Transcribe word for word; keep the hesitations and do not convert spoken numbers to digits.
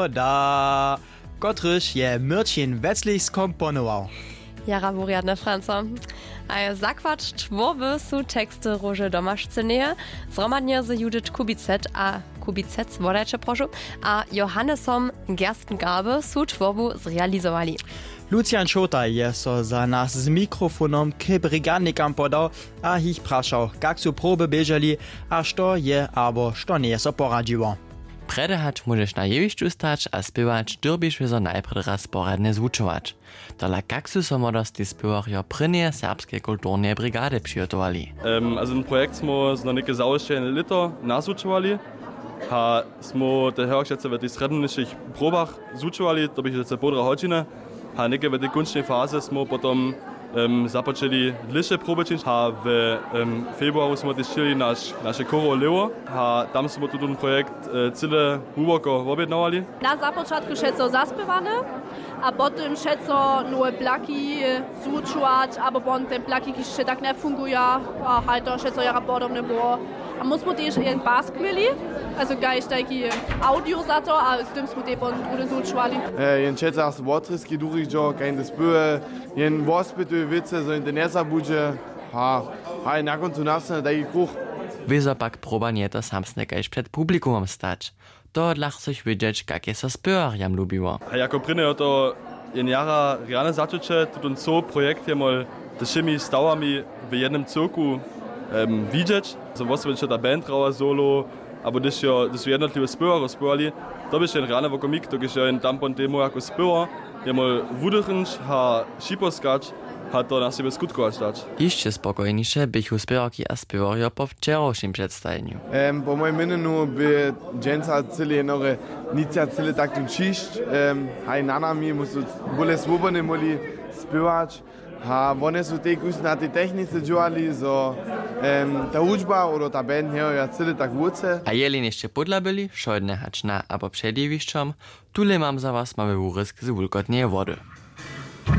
Da, kotryž je Myrčin Weclich skomponował. Jara wurjadne, Franco. A je zakład twórby su teksty Róže Domašcyneje, zhromadnje z Judith Kubicet a Kubicec, wodajće prošu, a Johannesom Gerstengarbe su twórbu zrealizowali. Lucian Šołtaj je so za nas z mikrofonom k brigadnikam podał a jich prašał, kak su proby běželi a što je abo što njeje so poradźiło. Prjedy hač móžeš na jewišću stać a spěwać, dyrbiš wězo najprjedy raz poradnje zwučować. Tola kak su so młodostni spěwarjo prěnjeje serbskeje kulturneje brigady přihotowali? Em, also ten projekt smo zno něke załožene lěto nazwučowali a smo te hewak přece w tych srjednjejšich probach zwučowali, to běchu přece połdra hodźiny. A něke w tej kónčnej faze smo potom em, započeli dlěše proby čińć a w em, februaru smo tež čili naš, naše chóro Lewo a tam smo tutón projekt e, cyle hłuboko wobjednawali. Na započatku wšeco zaspěwane a potom wšeco nowe plaki zwučować, abo potom te plaki, kiž hišće tak njefunguja. A haj, to wšeco jara podobne było. A my smo tež jeden pask měli, also kaž tajki audio za to, a z tym smo tej potom druhdy zwučowali. E, jen čecar so wotrězki durich dźo, kaž te spěwy, jen wospytuje wěcy, zo jen te njezabudźe. A haj, na kóncu nastanje tajki kruch. Wězo pak proba njeje to samsne kaž před publikumom stać. Tohodla chceš wědźeć, kak je so spěwarjam lubiło. A jako prěnje je to jen jara rjane začuće, tutón coł projekt je mol ze wšěmi stawami w jednym cyłku em, widźeć, zo wosebje ta band hrała solo, abo hdyž jo, hdyž su jednotliwe spěwarjo spěwali, to běše jen rjany wokomik, dokelž jo jen tam pon temu jako spěwar je mol wudychnć a šiposkać a to na sebje skutkować dać. Hišće spokojniše běchu spěwarki a spěwarjo po wčerawšim předstajenju. Em, po mojim měnjenju by dźensa cyle jednore nic ja cyle tak tu ćišć, em, haj na nami musu bóle swobodnje móhli spěwać. A wone su tež na tej technice dźěłali, zo em, ta hudźba abo ta band njejo ja cyle tak wóce. A jeli něšće pódla byli, wšodne hač na abo před jewišćom, tule mam za was mały wurězk z wulkotneje wody.